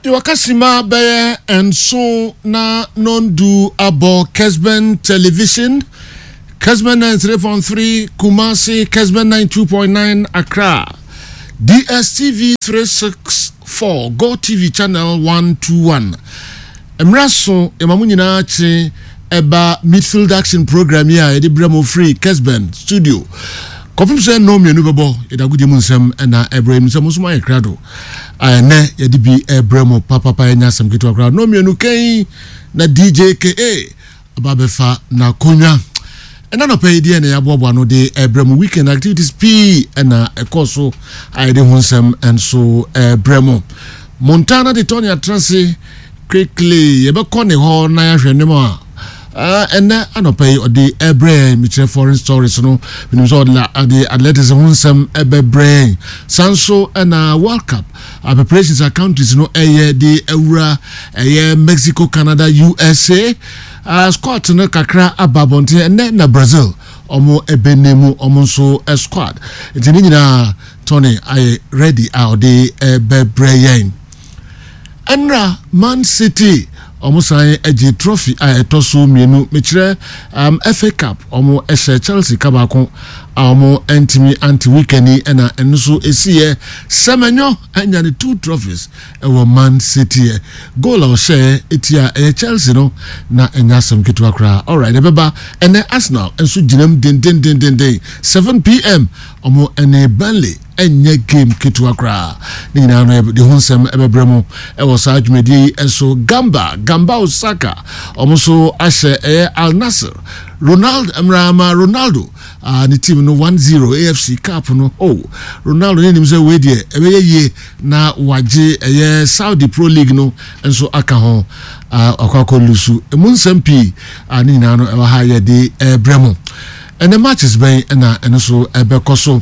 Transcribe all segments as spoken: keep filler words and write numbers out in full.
Yɛwɔkasima bɛyɛ nson na nondu abɔ. Kesben Television, Kesben ninety-three point three Kumasi, Kesben ninety-two point nine Accra, D S T V three six four, Go T V channel one two one. Mmerɛ so yɛma mo nyinaa kye ɛba Midfield Action program yi a yɛde brɛ mo firi Kesben Studio kɔpem sɛ nnɔn mmienu bɛbɔ. Yɛde agodie mu nsɛm ɛna ɛbrɛ mu sɛ mo nso mo ayɛ krado. Ɛnɛ yɛde bi ɛbrɛ mo papapa. Yɛnya asɛm ketewa koraa nnɔn mmienu kɛn na D J Ka aba bɛfa n'akonnwa. Ɛna nɔpɛ yi deɛ na yɛaboaboa no de ɛbrɛ mu, weekend activities pii ɛna ɛkɔ so a yɛde ho nsɛm nso ɛbrɛ mu. Montana de Tɔne Atrase quickly, yɛbɛkɔ ne hɔ na yɛahwɛ nneɛma a ɛnɛ anɔpɛ yi ɔde ɛbrɛ. Mekyerɛ foreign stories no, menim sɛ ɔde ɔde athletics ho nsɛm ɛbɛbrɛ. San so ɛna World Cup uh, preparations a countries no ɛyɛ de awura ɛyɛ Mexico, Canada, U S A, uh, squad no kakra aba abɔnten. Ɛnɛ na Brazil ɔmo ɛbɛnɛ mu ɔmo nso squad, nti ne nyinaa Tony ayɛ ready a ɔde ɛbɛbrɛ yɛn. Ɛnra Man City ɔmo san agye trophy a ɛtɔ so mmienu, mekyerɛ um, F A Cup. Ɔmo ɛhyɛ Chelsea ka baako a ɔmo ntumi ante. Weekend yi ɛna ɛno nso esiiɛ. Sɛmɛnyɔ anya ne two trophies ɛwɔ Man City. Ɛ goal a ɔhyɛ etia ɛyɛ Chelsea no na ɛnya asɛm ketewa koraa. Alright, ɛbɛba. Ɛnɛ Arsenal nso gyina mu dendendendenden, seven p m ɔmo ɛne Burnley. Ɛnyɛ game ketewa koraa. Ne nyinaa no de ho nsɛm ɛbɛbrɛ mu ɛwɔ saa dwumadie yi nso. Gamba Gamba Osaka ɔmo nso ahyɛ ɛyɛ Al Nassr, Ronaldo mmerama Ronaldo uh, ne team no one zero A F C Cup no. Oh, Ronaldo ne nim sɛ wei deɛ ɛbɛyɛ yie na wagye ɛyɛ Saudi Pro League no nso aka ho. Akɔ akɔ lusu emu nsɛm pii a ne nyinaa no ɛwɔ ha yɛde ɛbrɛ mu. Ɛnɛ matches bɛn ɛna ɛno nso ɛbɛkɔ so?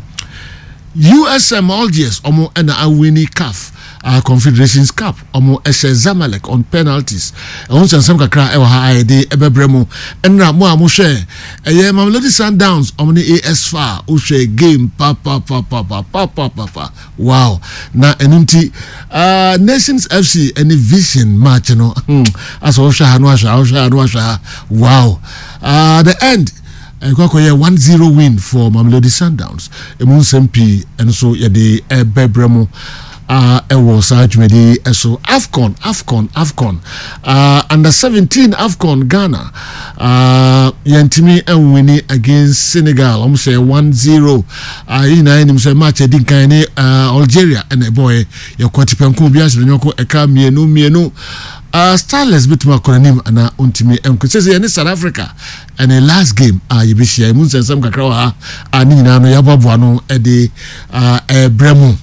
U S M Algiers ɔmo ɛna awin CAF uh, Confederations Cup. Ɔmo ɛhyɛ Zamalek on penalties. Ɛho nsɛnsɛm kakra ɛwɔ ha a yɛde ɛbɛbrɛ mu. Ɛnna mo a mohwɛ ɛyɛ Mamelodi Sundowns ɔmo ne A S FAR, wohwɛ game papapapapapapa, wow! Na ɛno nti uh, Nations F C ɛne Vision match no, hmm, asɛ wɔhwɛ ha no ahwɛ ha, wɔhwɛ ha no ahwɛ ha, wow! uh, the end ɛkɔ akɔyɛ one zero win for Mamelodi Sundowns. Emu nsɛm pii ɛno nso yɛde ɛbɛbrɛ mu a ɛwɔ saa dwumadi ɛso. AFCON, AFCON, AFCON uh, under seventeen AFCON, Ghana uh, yɛntumi ɛnwin against Senegal. Wɔn hyɛ one zero. uh, yɛn nyinaa yɛnim sɛ match ɛdi nkan ne uh, Algeria ɛna ɛbɔɔyɛ. Yɛkɔ tipɛnko bi ahyɛ ne nyɔnko ɛka mmienu mmienu. uh, starlets bitumi akɔ n'anim anaa ɔntumi nkɔ sɛ sɛ yɛne South Africa ɛne last game a yɛbɛhyia. Emu nsɛnsɛm kakra wɔ ha a ne nyinaa no yɛaboaboa no ɛde ɛbrɛ mu.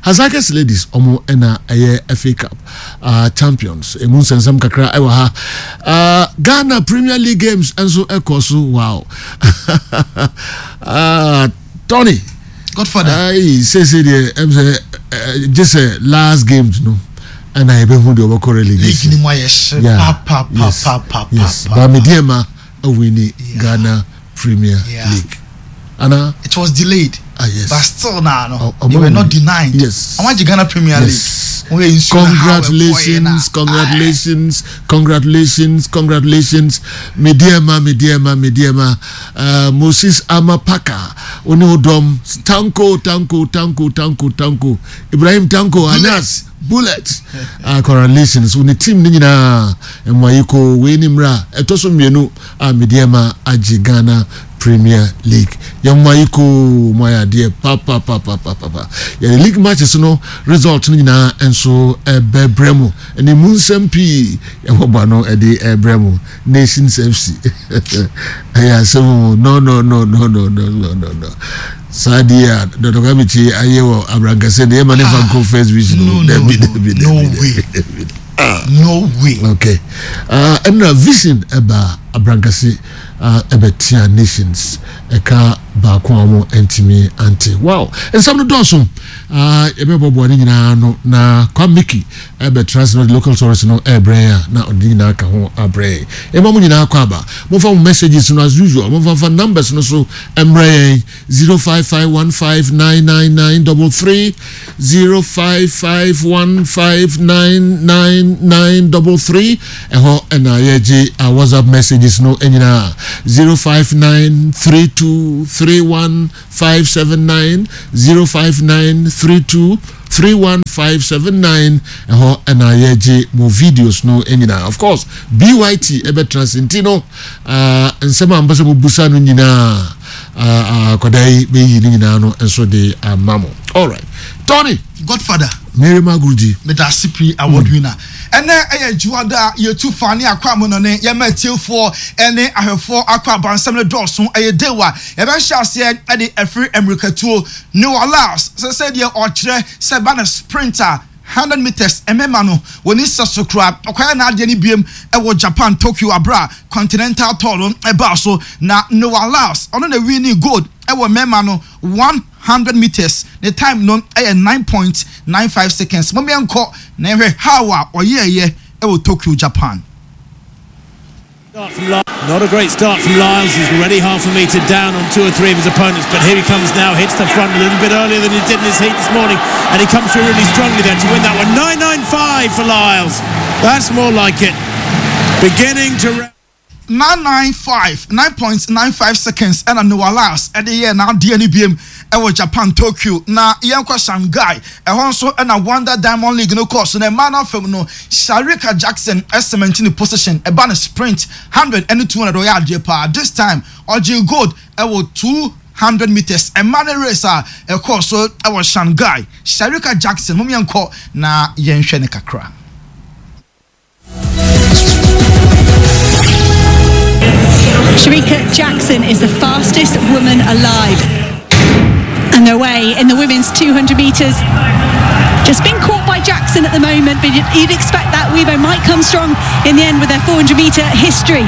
Hasaacas Ladies ɔmo ɛna ɛyɛ F A Cup uh, champions. Emu nsɛnsɛm kakra ɛwɔ ha. uh, ghana Premier League games nso ɛkɔ so. Wow, uh, Tony. Godfather. Ayi sese deɛ ɛm sɛ gye sɛ last games no ɛna yɛbɛhu deɛ ɔbɛkɔ relegation. League ni mu ayɛ hye pa pa pa pa. Yes, ba Medeama awin Ghana Premier Yeah. League ana? It was delayed. Ah, yes. But still now, no, Oh, oh, they were man. not denied. Yes. I want the Ghana Premier Yes. League. Wọ́n yẹ nsuo na how Congratulations, ɛkɔ yɛ na. congratulations, congratulations, congratulations, Medeama, Medeama, Medeama. uh, moses Amapaka one odom Tanko, Tanko, Tanko, Tanko, Tanko Ibrahim, Tanko Anas Bullet, uh, congratulations wo ne team ne nyinaa. Mmayiko wei ni mmerɛ a ɛtɔ so mmienu a Medeama agye Ghana Premier League. Yɛmmayiko mo ayɛ adeɛ papapapapapa. Yɛde league matches no result no nyinaa nso ɛbɛbrɛ mu ɛne mu nsɛm pii yɛbɔbɔ no ɛde ɛbrɛ mu. Nations F C ɛyɛ asɛm o. No, no, no, no, no, no, no, no, no, saa deɛ a Doctor Kwame Kyi ayɛ wɔ Abrankɛsɛ deɛ ɛma ne fa nkɔ first division No, o. no, Dabi, no, dabi, no dabi, way. Dabi. No way. Okay, uh, ɛnna Vision ɛba Abrankɛse. Ɛbɛtia Nations ɛka baako a wɔn ntumi ante. Wow, nsɛm no dɔɔso, yɛbɛbɔbɔ ne nyinaa no na Kwam Miki ɛbɛtena ase no de local stories no ɛrebrɛ a na ɔde ne nyinaa ka ho abrɛ. Ɛma mo nyinaa kɔ aba. Momfa mo messages no as usual, momfa fa numbers no so mmerɛ yɛn: zero five five one five nine nine nine double three, zero five five one five nine nine nine double three. Ɛhɔ ɛna yɛgye uh, WhatsApp messages no nyinaa: zero five nine three two three one five seven nine, zero five nine three two three one five seven nine. Ɛhɔ ɛna yɛgye mo videos no nyinaa. Of course, B Y T ɛbɛtena se nti no uh, nsɛm a mpɛ sɛ mobusa no nyinaa, akwadaa yi bɛyi ne nyinaa no nso de ama mo. Alright, Tony. Godfather. Mary Magruji. Meda ase pii, award winner. Ɛnɛ ɛyɛ dwuada a yɛtu fa ne akɔ amono ne yɛma atiefoɔ ɛne ahwɛfoɔ akɔ abansɛm no dɔɔso. Ɛyɛ dewa yɛbɛhyɛ aseɛ ɛde ɛfiri mmirikatuo. Noah Lyles sɛ sɛdeɛ ɔkyerɛ sɛ ba no sprint a hundred meters mmarima no wɔn sɛ so kora ɔkɔyɛ n'adeɛ no biem ɛwɔ Japan, Tokyo, abira Continental Tour no ɛbaa so na Noah Lyles ɔno na win gold ɛwɔ mmarima no one hundred meters. Ne time no ɛyɛ nine point nine five seconds. Mo mmiɛnkɔ na ɛhwɛ how a ɔyɛɛyɛ ɛwɔ Tokyo, Japan. Start from Not a great start from Lyles. He's already half a metre down on two or three of his opponents, but here he comes now, hits the front a little bit earlier than he did in his heat this morning, and he comes through really strongly there to win that one. nine nine five for Lyles. That's more like it. Beginning to. nine nine five, nine point nine five seconds ɛna Noah Lyles ɛde yɛ n'adeɛ no biem ɛwɔ Japan, Tokyo. Na yɛnkɔ Shanghai. Ɛhɔ nso ɛna Wanda Diamond League no kɔɔ so na mmaa no afam no, Sharika Jackson ɛcement ne position. Ɛba no sprint hundred ɛne two hundred, ɔyɛ adeɛ paa. This time ɔgye gold ɛwɔ two hundred meters mmaa no race a ɛkɔɔ so ɛwɔ Shanghai. Sharika Jackson, mo yɛnkɔ na yɛnhwɛ ne kakra. Shericka Jackson is the fastest woman alive. And they're away in the women's two hundred metres. Just been caught by Jackson at the moment, but you'd expect that Weibo might come strong in the end with their four hundred metre history.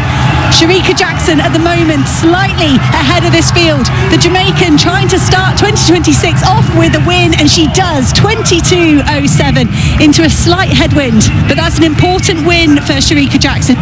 Shericka Jackson at the moment slightly ahead of this field. The Jamaican trying to start twenty twenty-six off with a win, and she does. twenty-two oh seven into a slight headwind, but that's an important win for Shericka Jackson.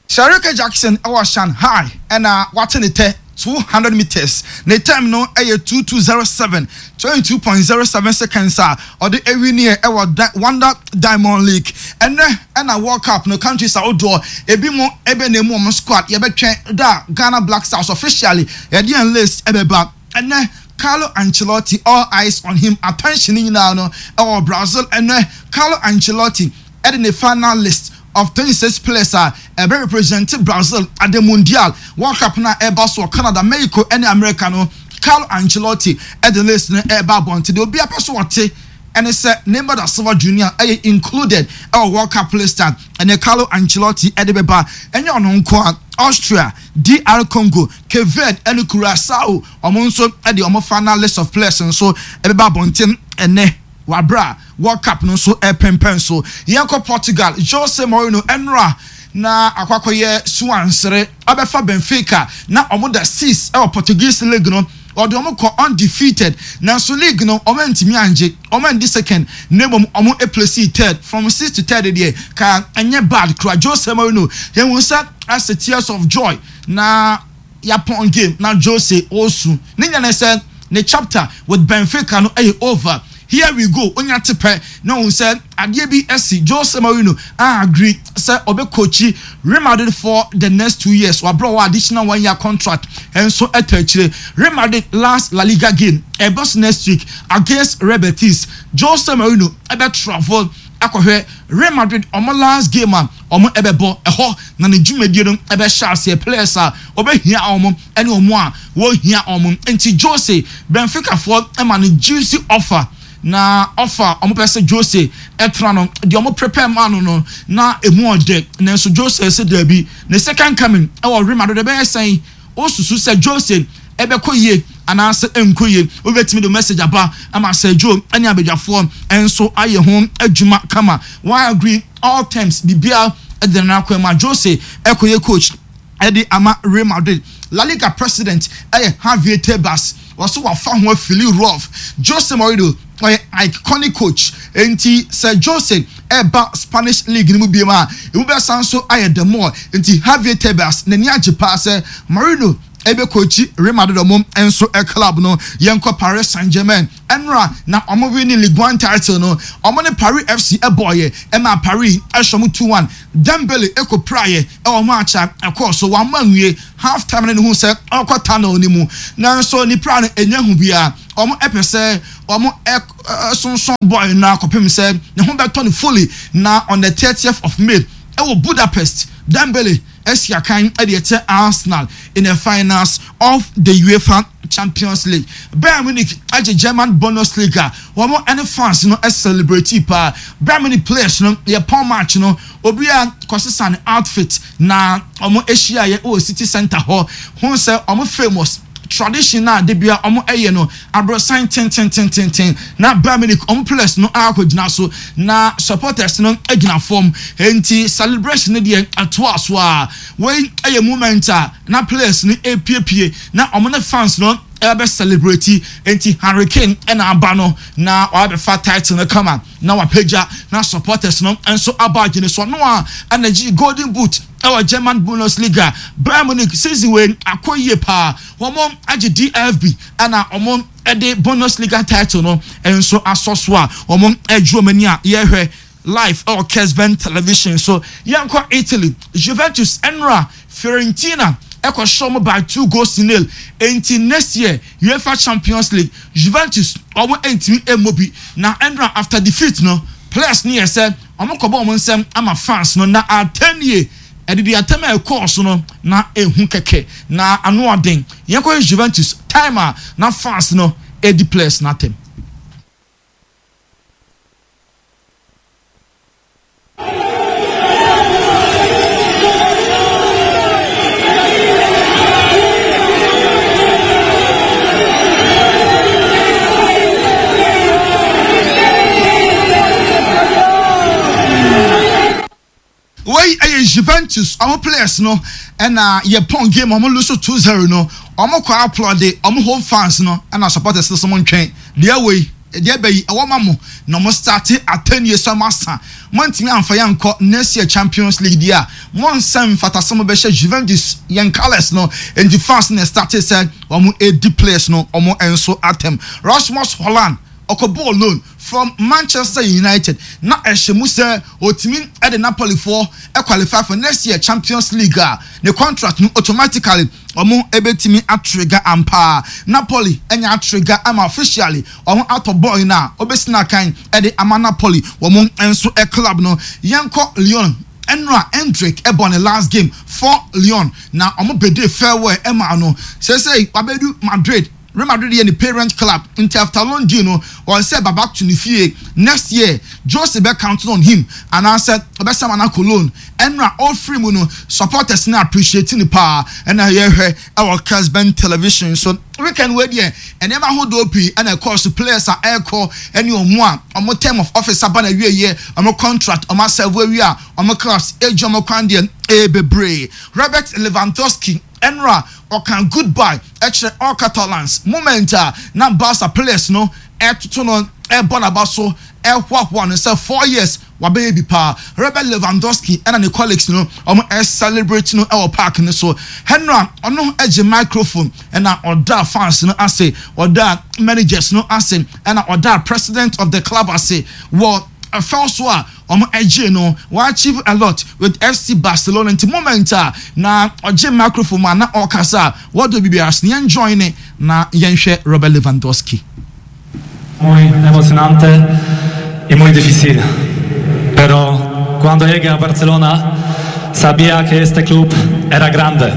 Shericka Jackson ɛwɔ Shanghai ɛna wate ne tɛ two hundred meters. Ne time no ɛyɛ two two zero seven, twenty two point zero seven seconds a ɔde ewi nie ɛwɔ Di Wanda Diamond League. Ɛnɛ ɛna World Cup no countries ahodoɔ ebi mo ɛbɛ na emu wɔn squad. Yɛbɛtwɛn da Ghana Black Stars officially yɛde yɛn list ɛbɛba. Ɛnɛ Carlo Ancelotti, all eyes on him, attention nyinaa no ɛwɔ Brazil. Ɛnɛ Carlo Ancelotti ɛde ne final list of twenty-six players a ɛbɛ represent Brazil at the Mundial, World Cup na ɛba so wɔ Canada, Mexico ɛne America no. Carlo Ancelotti ɛde list no ɛba abɔnten. Deɛ obi apɛ so wɔte ɛne sɛ Neymar da Silva Junior ɛyɛ included ɛwɔ World Cup list a ɛne Carlo Ancelotti ɛde bɛba. Ɛnyɛ ɔno nko a, Austria, D R Congo, Cape Verde ɛne Curacao, ɔmo nso ɛde ɔmo final list of players nso ɛbɛba abɔnten ɛnɛ wabra World Cup no nso ɛpɛmpɛn so. Yɛnkɔ Portugal. Jose Mourinho ɛnora na akɔakɔyɛ suansere ɔbɛfa Benfica na ɔmo da six ɛwɔ Portuguese league no. Ɔde ɔmo kɔ undefeated, nanso league no ɔmo ntumi angye, ɔmo ndi second na mmom ɔmo eplace third. From six to third deɛ ka ɛnyɛ bad kura. Jose Mourinho yɛn ho sɛ asɛ tears of joy na yapɔn game na Jose osu ne nyɛ ne sɛ ne chapter with Benfica no ɛyɛ over. Here we go, onya te pɛ na ohun sɛ adeɛ bi ɛsi. Jose Mourinho a agree sɛ ɔbɛ coach Real Madrid for the next two years. Wabrɛ wɔ additional one year contract ɛnso ɛtɔ akyire. Real Madrid last La Liga game ɛbɛ so next week against Real Betis. Jose Mourinho ɛbɛ travel akɔhwɛ Real Madrid ɔmo last game a ɔmo ɛbɛbɔ ɛhɔ na ne dwumadie no ɛbɛhyɛ aseɛ, players a ɔbɛhia ɔmo ɛne ɔmo a wɔhia ɔmo. Nti Jose, Benfica foɔ ɛma no juicy offer na offer ɔmo pɛ sɛ Jose ɛtena no deɛ ɔmo prepare ma no no na emu ɔdɛ, nanso Jose ɛsɛ daabi. Ne second coming ɛwɔ Real Madrid ɛbɛyɛ sɛn? Osusu sɛ Jose ɛbɛkɔ yie anaasɛ ɛnkɔ yie? Wobɛtumi de message aba ama sɛ Joe ɛne abadwafoɔ ɛnso ayɛ ho adwuma kama. Wɔn agree all terms, biribiara ɛde ne akɔ mu a Jose ɛkɔyɛ coach. Ɛde ama Real Madrid. La Liga president ɛyɛ Javier Tebas, wɔso wafa ho afili rough. Jose Mourinho ɔyɛ iconic coach, nti sɛ Jose ɛba Spanish league no mu biem a, emu bɛsan so ayɛ the more. Nti Javier Tebas n'ani agye paa sɛ Mourinho ebe coach Real Madrid, ɔmo nso club no. Yɛnkɔ Paris Saint Germain. Ɛnora na ɔmo win ne Ligue one title no. Ɔmo ne Paris F C ɛbɔɔyɛ ɛma Paris ɛhyɛ ɔmo two one. Dembele ɛkɔ praeɛ ɛwɔ ɔmo akyɛ ɛkɔɔ so wɔn ama nwie half time no ne ho sɛ ɔkɔ tunnel ne mu, nanso ne pra no enya hu bia. Ɔmo ɛpɛ sɛ ɔmo ɛsonson boy no akɔpem sɛ ne ho bɛtɔ no fully, na on the thirtieth of May ɛwɔ Budapest, Dembele ɛsi akan ɛde ɛkyɛ Arsenal in the finals of the UEFA Champions League. Bayern Munich agye German Bundesliga. Wɔn ɛne fans no ɛcelebrate paa. Bayern Munich players no yɛ pɔn match no, obiara kɔsesa ne outfit na wɔn ahyia yɛ wɔ city center hɔ ho sɛ wɔn famous tradition na de bia ɔmo ɛyɛ no, aborosan tententententen na Bayern Munich ɔmo players no akɔgyina so na supporters no gyina fam, nti celebration no deɛ ɛtoa so a, wei ɛyɛ moment a na players no epiepie na ɔmo ne fans no ɛbɛ celebrate. Nti Harry Kane ɛna aba no na wabɛfa title no kama na wapagya na supporters no nso aba agyene so no a ɛna gye golden boot ɛwɔ German Bundesliga. Bayern Munich season wei akɔ yie paa. Wɔn agye D F B ɛna wɔn ɛde Bundesliga title no nso asɔ so a wɔn ɛdwo wɔn ani a yɛhwɛ live ɛwɔ Kesben Television so. Yɛnkɔ Italy. Juventus ɛnora Fiorentina ɛkɔhyɛ wɔn by two goals to nil, nti next year UEFA Champions League Juventus wɔn ntumi ɛmmɔ bi. Na ɛnora after defeat no, players no yɛ sɛ wɔn kɔbɔ wɔn nsɛm ama fans no na atɛnie ɛdidi atɛm a ɛkɔɔ so no na ehu kɛkɛ na ano ɔden. Yɛnkɔ Juventus time a na fans no edi players n'atɛm. Wei ɛyɛ Juventus ɔmo players no ɛna yɛ pɔn game, ɔmo lose two zero no, ɔmo kɔ applaud ɔmo home fans no ɛna supporters no so mo ntwɛn deɛ wei deɛ bɛyi ɛwɔ ma mo na ɔmo start atɛnie so ɔmo asa mo ntumi anfa yɛn nkɔ next year Champions League deɛ a mo nsɛm mfatasɛ mo bɛhyɛ Juventus yɛn colours no. Nti fans na start sɛ ɔmo edi players no ɔmo nso atɛm. Rasmus Hojlund ɔkɔ ball loan from Manchester United na ɛhyɛ mu sɛ otumi ɛde Napoli foɔ ɛqualify for next year Champions League a ne contract no automatically ɔmo ebetumi atrigger ampa. Napoli ɛnya atrigger ama officially ɔmo atɔ boy na obesi n'akan ɛde ama Napoli, wɔn nso ɛ club no. Yɛnkɔ Lyon. Ɛnora Endrick ɛbɔ ne last game for Lyon na ɔmo bede farewell ɛma no. Sɛsɛ wabedu Madrid. Real Madrid yɛ ne parent club, nti after loan deal no ɔsɛ ba back to ne fie next year. Jose bɛ counting on him anaasɛ ɔbɛsɛm anakɔ loan. Ɛnora ɔfiri mu no, supporters no appreciate ne paa ɛna yɛhwɛ ɛwɔ Kesben Television so. Weekend wei deɛ, nneɛma ahodoɔ pii ɛna ɛkɔɔ so. Players a ɛrekɔ ɛne ɔmo a ɔmo term of office aba na awie yɛ ɔmo contract, ɔmo aserve awie a ɔmo clubs egye ɔmo kwan deɛ ɛyɛ bebree. Robert Lewandowski ɛnora ɔkan goodbye ɛkyerɛ all Catalans. Moment a na Barca players no ɛtoto no, ɛbɔ n'aba so, ɛhoahoa no sɛ four years wabɛyɛ bi paa. Robert Lewandowski ɛna ne colleagues no ɔmo ɛcelebrate no ɛwɔ park no so. Ɛnora ɔno ɛgye microphone ɛna ɔda fans no ase, ɔda managers no ase, ɛna ɔda president of the club ase wɔ ɛfɛw so a ɔmo ɛgye no. Wa achieve a lot with F C Barcelona, nti moment a na ɔgye microphone mu a na ɔkasa a wɔdɔ bibi ase. Yɛn join ne na yɛnhwɛ Robert Lewandowski. Muy emocionante y muy difícil. Pero cuando llegué a Barcelona sabía que este club era grande.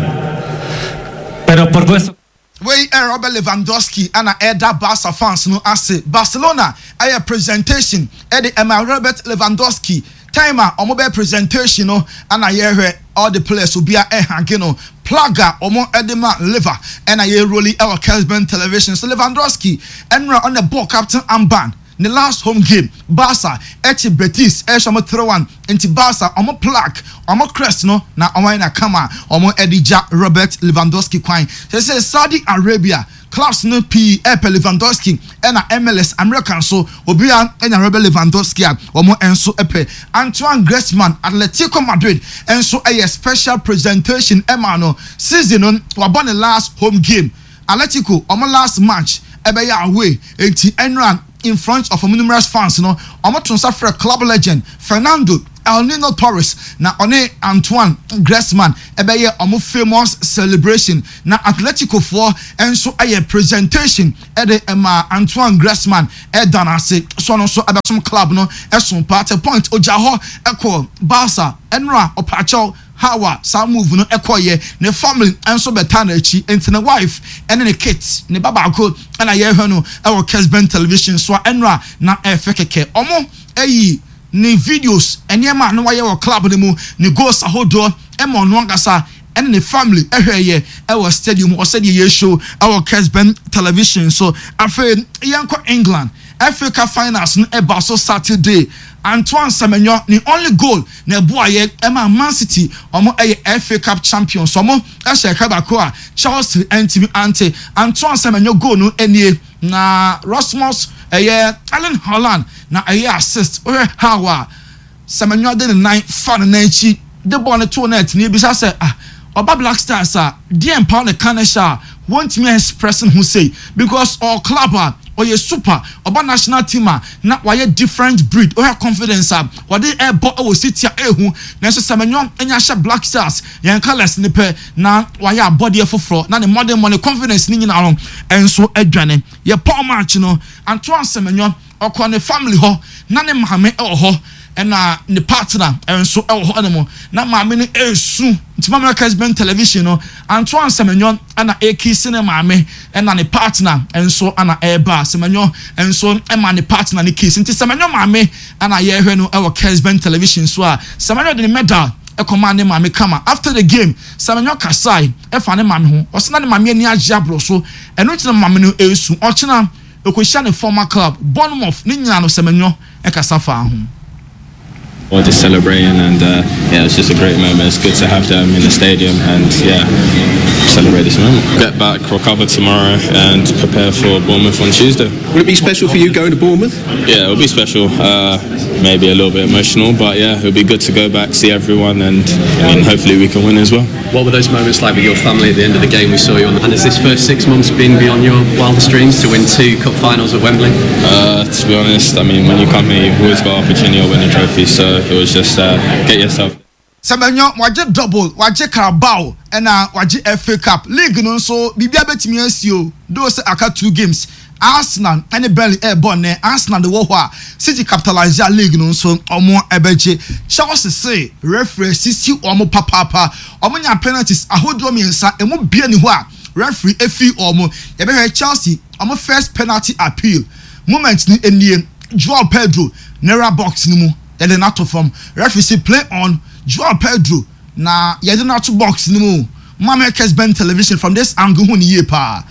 Pero por vuestro Wei ɛ Robert Lewandowski ɛna ɛda Barca fans no ase. Barcelona ɛyɛ presentation ɛde ɛma Robert Lewandowski. Time a ɔmo bɛ presentation no ɛna yɛhwɛ all the players, obia ɛhug no. Plaque a ɔmo ɛde ma Lewa ɛna yɛroli ɛwɔ Kesben Television so. Lewandowski ɛnura ɔna ball captain armband. Ne last home game, Barca ɛkye Betis, ɛhyɛ ɔmo three one. Nti Barca ɔmo plaque, ɔmo crest no na ɔmo ayɛ na kama, ɔmo ɛde gya Robert Lewandowski kwan. Sɛ sɛ Saudi Arabia clubs no pii ɛpɛ Lewandowski, ɛna M L S America nso obiara ɛnya Robert Lewandowski a wɔn nso ɛpɛ Antoine Griezmann. Atletico Madrid nso ɛyɛ special presentation ɛma no. Season no wabɔ ne last home game, Atletico wɔn last match ɛbɛyɛ away, eti ɛnura in front of numerous fans no, wɔn to nsa frɛ club legend Fernando El Nino Torres na ɔne Antoine Griezmann ɛbɛyɛ ɔmo famous celebration. Na Atletico foɔ nso ɛyɛ presentation ɛde ɛma Antoine Griezmann, ɛda n'ase so ɔno nso ɛbɛsom club no ɛso pa. At a point ogya hɔ ɛkɔ Barca ɛnora, ɔpaakyɛw how a saa move no ɛkɔyɛ, ne family nso bɛta n'akyi, nti ne wife ɛne ne kids, ne ba baako ɛna yɛrehwɛ no ɛwɔ Kesben Television so a ɛnora na ɛfɛ kɛkɛ. Ɔmo ɛyi ne videos, nneɛma a na wayɛ wɔ club no mu, ne goals ahodoɔ, ɛma ɔno ankasa ɛne ne family ɛhwɛ yɛ ɛwɔ stadium ɔsɛdeɛ yɛ show ɛwɔ Kesben Television so. Afei yɛnkɔ England. F A Cup finals no ɛba so Saturday. Antoine Semenyo ne only goal na ɛboa yɛ ɛma Man City ɔmo ɛyɛ F A Cup champions. Ɔmo ɛhyɛ ɛka baako a Chelsea ɛntumi ante. Antoine Semenyo goal no ɛnie, na Rasmus ɛyɛ Erling Haaland na ɛyɛ assist. Ɔhwɛ how a Semenyo de ne nan fa ne nan akyi de bɔɔl no to net ne ebisa sɛ, ah, ɔba Black Stars a deɛ mpa ne ka ne hyɛ a wɔntumi express ne ho sei, because ɔɔ club a ɔyɛ super, ɔba national team a na wayɛ different breed. Ɔyɛ confidence a wɔde ɛbɔ ɛwɔ City a ehu, nanso Semenyo ɛnya hyɛ Black Stars yɛn colours ne pɛ na wayɛ abɔdeɛ foforɔ, na ne mmɔden mɔ ne confidence ne nyinaa no ɛnso adwane. Yɛ paul match no, Antoine Semenyo ɔkɔ ne family hɔ na ne maame ɛwɔ hɔ, ɛna ne partner nso ɛwɔ hɔ ɛnum na maame no esu. Nti maame Kesben Television no, Antoine Semenyo ɛna ekisi ne maame, ɛna ne partner nso ɛna ɛɛba. Semenyo nso ɛma ne partner ne kiss. Nti Semenyo maame ɛna yɛrehwɛ no ɛwɔ Kesben Television so a Semenyo de ne medal ɛkɔma ne maame kama. After the game, Semenyo kasae ɛfa ne maame ho, ɔsɛ na ne maame ani agye aboro so, ɛno nti na maame no esu. Ɔkyena ekohyia ne former club Bournemouth ne nyinaa no, Semenyo ɛkasa fa ho. Or just celebrating, and uh, yeah, it's just a great moment. It's good to have them in the stadium and, yeah, celebrate this moment. Get back, recover tomorrow and prepare for Bournemouth on Tuesday. Will it be special for you going to Bournemouth? Yeah, it'll be special. Uh, maybe a little bit emotional, but yeah, it'll be good to go back, see everyone, and I mean, hopefully we can win as well. What were those moments like with your family at the end of the game? We saw you on. And has this first six months been beyond your wildest dreams to win two cup finals at Wembley? Uh, to be honest, I mean, when you come here, you've always got opportunity to win a trophy, so it was just uh, get yourself. Semenyo wagye double, wagye Carabao ɛna wagye F A Cup. League no nso biribi abɛtumi asi o, though sɛ aka two games. Arsenal ɛne Burnley ɛɛbɔ nnɛ. Arsenal de wɔ hɔ a City capitalise a league no nso ɔmo ɛbɛgye. Chelsea se referee sisi ɔmo papaapa. Ɔmo nya penalties ahodoɔ mmiɛnsa, emu bie ni hɔ a referee efi ɔmo. Yɛbɛhwɛ Chelsea ɔmo first penalty appeal moment ni enie. Joao Pedro nera box ni mu, yɛde n'ato fam, referee say play on. Joao Pedro na yɛde n'ato box ni mu. Mame Kesben Television, from this angle hu ni yie paa,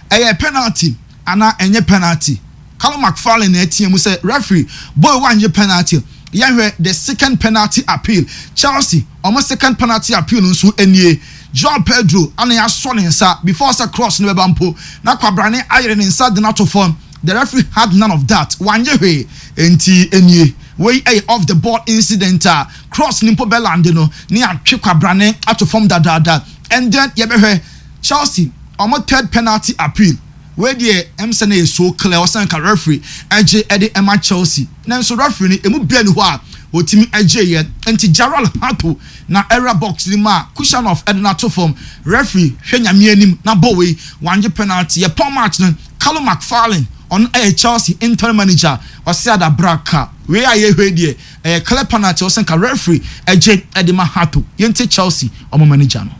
ɛyɛ penalty ana ɛnyɛ penalty? Callum McFarlane na ɛteɛ mu sɛ referee boy wanyɛ penalty. Yɛhwɛ the second penalty appeal, Chelsea ɔmo second penalty appeal nso nie. Joao Pedro ana yɛasɔ ne nsa before sɛ cross no bɛba mpo na kwabrane ayere ne nsa de n'ato fam. The referee had none of that, wanyɛ hwee. Nti nie, wei ɛyɛ off the ball incident a cross ni mpo bɛ land no ne atwe kwabrane ato fam dadaada. And then yɛbɛhwɛ Chelsea ɔmo third penalty appeal. Wei deɛ ɛm sɛ no yɛ so clear, ɔsɛn ka referee ɛgye ɛde ɛma Chelsea, nanso referee no emu bia ni hɔ a otimi ɛgye yɛ. Nti Jorrel Hato na ɛwura box ni mu a Khusanov ɛde n'ato fam. Referee hwɛ Nyame anim na bɔ wei, wangye penalty. Yɛ pɔn match no, Callum McFarlane, ɔno ɛyɛ Chelsea interim manager, ɔsi adabraka wei a yɛhwɛ deɛ ɛyɛ clear penalty, ɔsɛn ka referee ɛgye ɛde ma Hato. Yɛnti Chelsea ɔmo manager no.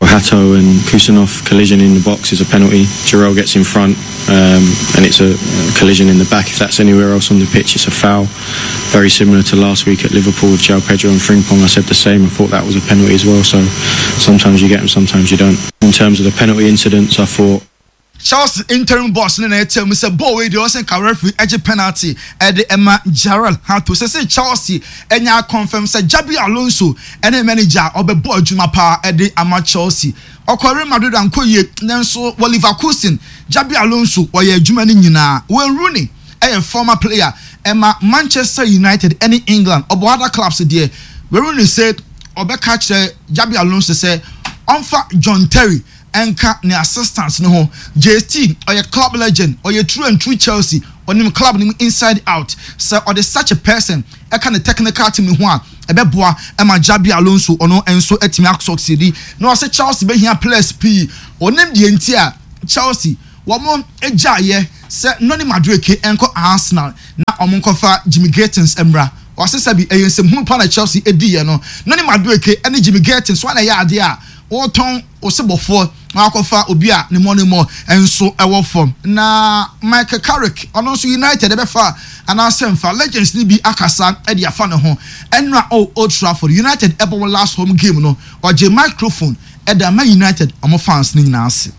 Hato and Khusanov collision in the box is a penalty. Jorrel gets in front um, and it's a, a collision in the back. If that's anywhere else on the pitch, it's a foul. Very similar to last week at Liverpool with João Pedro and Frimpong. I said the same. I thought that was a penalty as well. So sometimes you get them, sometimes you don't. In terms of the penalty incidents, I thought Chelsea interim boss ne na ɛtɛ mu sɛ ball wei deɛ, ɔsɛ nka referee ɛgye penalty ɛde ɛma Jorrel Hato. Sɛ sɛ Chelsea ɛnya confirm sɛ Xabi Alonso ɛne manager ɔbɛbɔ adwuma paa ɛde ama Chelsea. Ɔkɔ Real Madrid ankɔ yie, nanso wɔ Leverkusen, Xabi Alonso wɔyɛ adwuma no nyinaa. Wayne Rooney ɛyɛ former player ɛma Manchester United ɛne England, ɔbɔ other clubs deɛ. Wayne Rooney sɛ ɔbɛka kyerɛ Xabi Alonso sɛ ɔmfa John Terry ɛnka ne assistant ne ho. J T ɔyɛ club legend, ɔyɛ true and true Chelsea, ɔnim club no mu inside out. Sɛ ɔde such a person ɛka ne technical team ne ho a, ɛbɛboa ɛma Xabi Alonso ɔno nso atumi asucceed. Na ɔsɛ Chelsea bɛhia players pii. Ɔnim deɛ nti a Chelsea wɔn gyaeɛ sɛ Noni Madueke nkɔ Arsenal na wɔn nkɔfa Jamie Gittens mmra. Ɔsɛ sɛbi ɛyɛ nsɛmhunu pa na Chelsea ediiɛ no. Noni Madueke ɛne Jamie Gittens wɔn na ɛyɛ adeɛ a wɔtɔn ɔsebɔfoɔ na wakɔfa obi a ne mmɔ ne mmɔ nso ɛwɔ fam. Na Michael Carrick, ɔno nso United ɛbɛfa anaasɛ nfa, legends ni bi akasa ɛde afa ne ho. Ɛnura o Old Trafford, United ɛbɔ wɔn last home game no, ɔgye microphone ɛde ama United ɔmo fans ne nyinaa ase.